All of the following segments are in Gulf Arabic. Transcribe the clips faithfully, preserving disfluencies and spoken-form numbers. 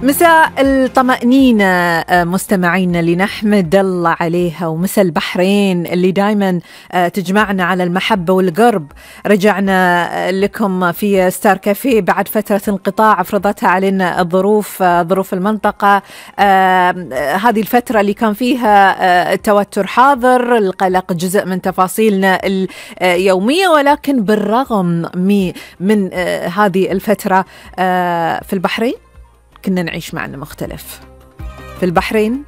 مساء الطمأنينة مستمعينا اللي نحمد الله عليها، ومساء البحرين اللي دايما تجمعنا على المحبة والقرب. رجعنا لكم في ستار كافيه بعد فترة انقطاع فرضتها علينا الظروف ظروف المنطقة. هذه الفترة اللي كان فيها التوتر حاضر، القلق جزء من تفاصيلنا اليومية، ولكن بالرغم من هذه الفترة في البحرين كنا نعيش معنى مختلف. في البحرين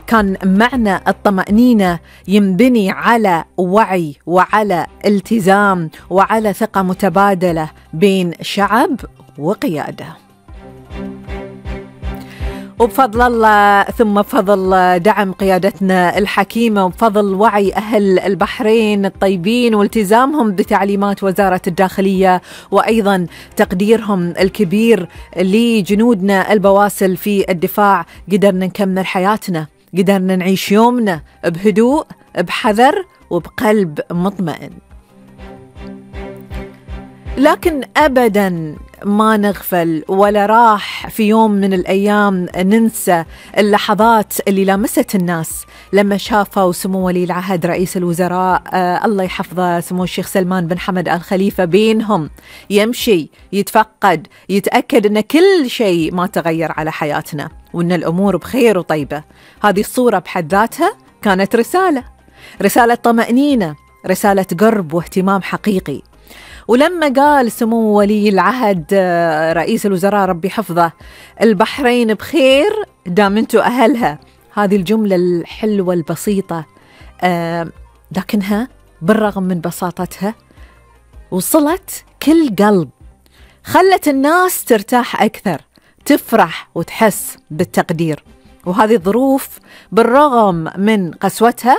كان معنى الطمأنينة ينبني على وعي وعلى التزام وعلى ثقة متبادلة بين شعب وقيادة، وبفضل الله ثم بفضل دعم قيادتنا الحكيمة وبفضل وعي أهل البحرين الطيبين والتزامهم بتعليمات وزارة الداخلية، وأيضا تقديرهم الكبير لجنودنا البواسل في الدفاع، قدرنا نكمل حياتنا، قدرنا نعيش يومنا بهدوء بحذر وبقلب مطمئن. لكن أبداً ما نغفل ولا راح في يوم من الأيام ننسى اللحظات اللي لامست الناس لما شافوا سمو ولي العهد رئيس الوزراء آه الله يحفظه سمو الشيخ سلمان بن حمد آل خليفة بينهم يمشي يتفقد يتأكد أن كل شيء ما تغير على حياتنا وأن الأمور بخير وطيبة. هذه الصورة بحد ذاتها كانت رسالة رسالة طمأنينة، رسالة قرب واهتمام حقيقي. ولما قال سمو ولي العهد رئيس الوزراء ربي حفظه البحرين بخير دام انتو أهلها، هذه الجملة الحلوة البسيطة آه لكنها بالرغم من بساطتها وصلت كل قلب، خلت الناس ترتاح أكثر، تفرح وتحس بالتقدير. وهذه الظروف بالرغم من قسوتها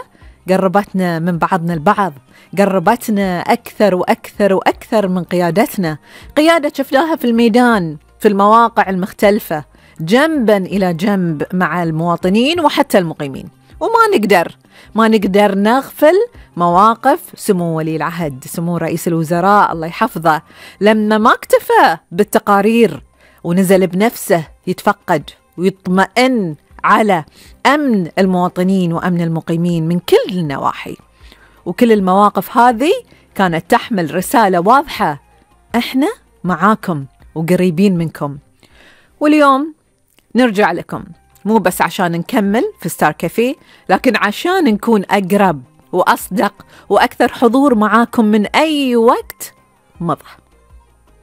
قربتنا من بعضنا البعض، قربتنا أكثر وأكثر وأكثر من قيادتنا، قيادة شفناها في الميدان في المواقع المختلفة جنبا إلى جنب مع المواطنين وحتى المقيمين. وما نقدر ما نقدر نغفل مواقف سمو ولي العهد سمو رئيس الوزراء الله يحفظه لما ما اكتفى بالتقارير ونزل بنفسه يتفقد ويطمئن على أمن المواطنين وأمن المقيمين من كل النواحي. وكل المواقف هذه كانت تحمل رسالة واضحة، احنا معاكم وقريبين منكم. واليوم نرجع لكم مو بس عشان نكمل في ستار كافيه، لكن عشان نكون أقرب وأصدق وأكثر حضور معاكم من أي وقت مضى.